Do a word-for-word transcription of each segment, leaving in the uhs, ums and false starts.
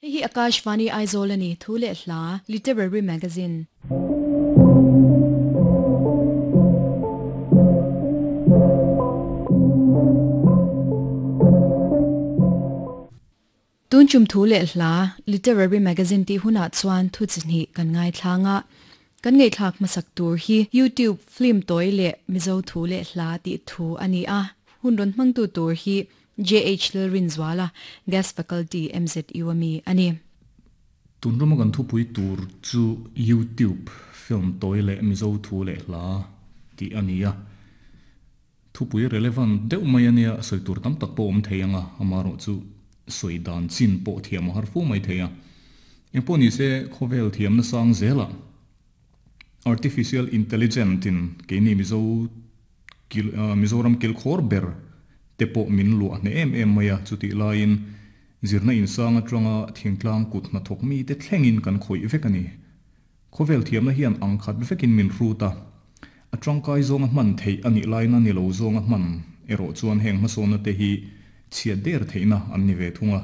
Hei hi Akashvani Aizawl a ni, Thu leh Hla, Literary Magazine. Tun chum Thu leh Hla, Literary Magazine tih hunah chuan thu chi hnih kan ngaithlang a. Kan ngaihthlak hmasak tur hi YouTube film tawi leh Mizo Thu leh Hla tih thu a ni a. Hun rawn hmangtu tur hi J H Lalrinzuala, Guest Faculty, M Z U a mi a ni. Tun rama kan thupui tur chu YouTube film tawi leh Mizo Thu leh Hla tih a ni a. Thupui relevant deuh mai a nia, sawi tur tam tak pawh awm thei ang a, amaherawh chu sawi dan chin pawh thiam a har fo mai thei a. Engpawh ni se khawvel thiamna sang zelah Artificial Intelligent in keini Mizo kil Mizoram kilkhawr ber te pawh min luah hneh em em mai a, chutih laiin zirna insang atanga thingtlang kut hnathawk mite thlengin kan khawih vek a ni. Khawvel thiamna hian ang khat vekin min hrut a, a tangkai zawnga hman theih a nih laina ni lo zawnga hman erawh chuan heng hmasawnna te hi chhiat der theihna an ni ve thung a.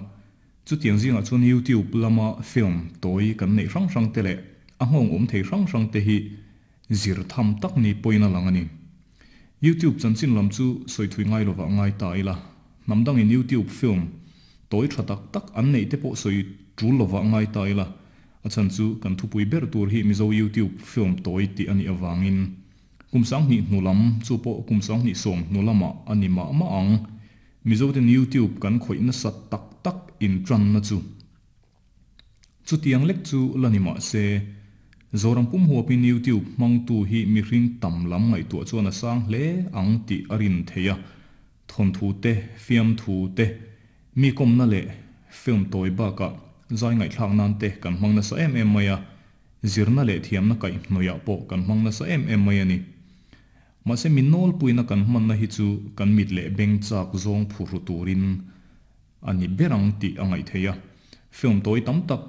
Chutiang zingah chuan YouTube lama film tawi kan neih hrang hrang te leh a nghawng awm thei hrang hrang te hi zir tham tak ni pawhin a lang a ni. YouTube chanchin lam chu sawi thui ngai lovah ngai ta ila, hnam dangin YouTube film tawi tha tak tak an neih te pawh sawi tul lovah ngai ta ila, a chhan chu kan thupui ber tur hi Mizo YouTube film tawi tih a nih avangin kum sanghnih hnu lam chu pawh kum sanghnih sawm hnu lamah a ni mah mah ang. Mizo ten YouTube kan khawih nasa tak tak intanna chu chutiang lek chu la ni mah se, Zoram pum huapin YouTube hmangtu hi mihring tam lam ngaihtuah chuan a sang hle ang tih a rin thei a, thawnthu te, fiamthu te, mi kawmna leh film tawi bakah zai ngaihthlak nan te kan hmang nasa em em mai a, zirna leh thiamna kaihhnawihah pawh kan hmang nasa em em mai a ni. Mahse mi nawlpuina kan hmanna hi chu kan mit leh beng chak zawng phurhu turin a ni ber ang tih a ngaih thei a. Film tawi tam tak